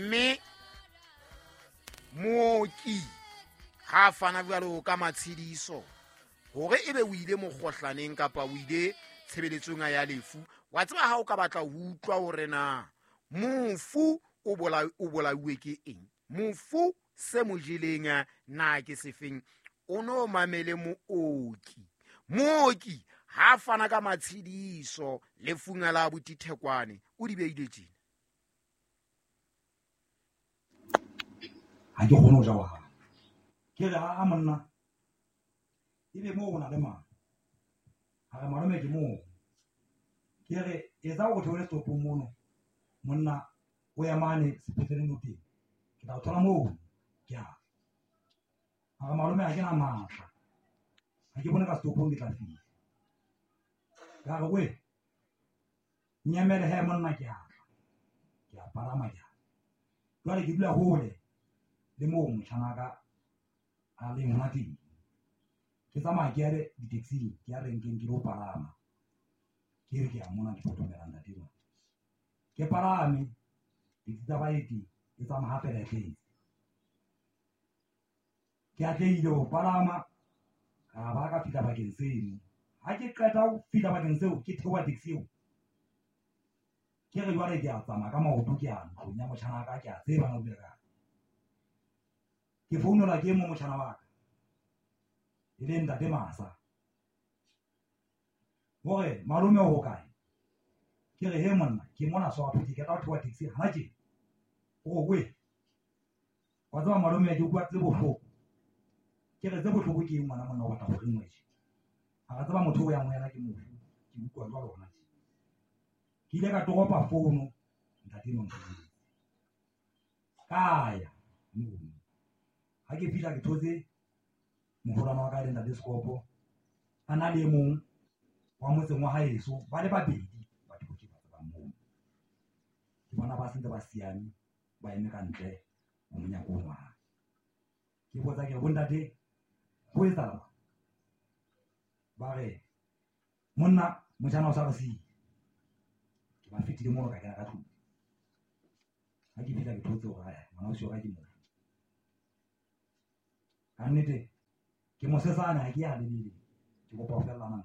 Mme mooki ha a fana jwalo ka matshediso hore ebe o ile mokgohlaneng kapa o ile tshebeletsong ya lefu, wa tseba ha o ka batla ho utlwa hore na mofu o bolauwe ke eng, mofu se mo jeleng na ke sefeng, o no mamele mooki. Mooki ha fana ka matshediso lefung la botithekwane o di beile tjena. Ha ke kgone ho ja wa hae. Ke re a monna ebe moo o na le mang? A re malome ke moo. Ke re etsa o theole setopong mono, monna o ya mane sepetleleng o teng, ke tla o thola moo. Ke a re malome ha ke na matla, ha ke bone ka setopong ke tla fihla. Ka re we nyemele he monna, ke a tla, ke a palama ke a. Jwale ke dula hole le moo motjhanaka a leng hona teng. Ke tsamaya ke ya di-taxi-ng, ke ya renkeng ke lo palama. Ke re ke a mona ke potomela ntate enwa. Ke palame taxi tsa baeti e tsamaya hape le tletse. Ke atlehile ho palama ka ba ka fihla bakeng seno. Ha ke qeta ho fihla bakeng seo, ke theoha taxi eo. Ke re jwale ke a tsamaya ka maoto ke ya ntlong ya motjhanaka, ke a tseba na o dula kae. Ke founelwa ke e mong motjhana wa ka, e leng ntate Masa, hore malome o hokae. Ke re he monna, ke mona Soweto, ke qeta ho theoha taxi hana tjena. O re we, wa tseba malome ke utlwa tse bohloko. Ke re tse bohloko ke eng ngwana monna, o batla ho reng wena? Ha re tseba motho o yang ho yena ke mofu, ke utlwa jwalo hona tje. Ke ile ka toropa fono ntate enwa nfounetse. Ka ya mono. Ha ke fihla ke thotse moholwane wa ka e leng ntate Sekopo, a na le e mong wa motseng wa haeso, ba le babedi batho ba ke ba tsebang mono. Ke bona ba sentse ba siame, ba eme ka ntle ho monyako ono wa hae. Ke botsa ke re bontate ho etsahala? Ba re monna motjhana o sa re siile. Ke ba fetile mono ka kena ka tlung. Ha ke fihla ke thotse hore ae ngwana ausi wa ka ke mofu. Ka nnete ke mosesane, ha ke ya lebele, ke kopa ho fellana.